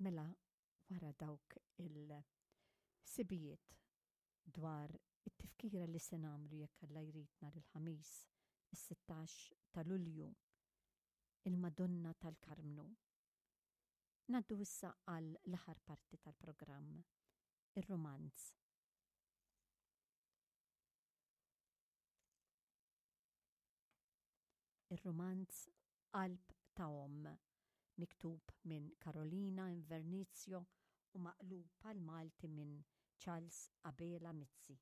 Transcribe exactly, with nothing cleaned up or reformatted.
Mela wara dawk il-sibijiet dwar it-tifkira li se nagħmlu jekk Alla jrid nhar il-Ħamis is-sittax ta' Lulju, il-Madonna tal-Karmnu. Ngħaddu issa għal l-aħħar parti tal-programm, ir-rumanz. Ir-rumanz Qalb ta' Omm, miktub minn Carolina Invernizio u maqlub għall-Malti minn Charles Abela Mizzi.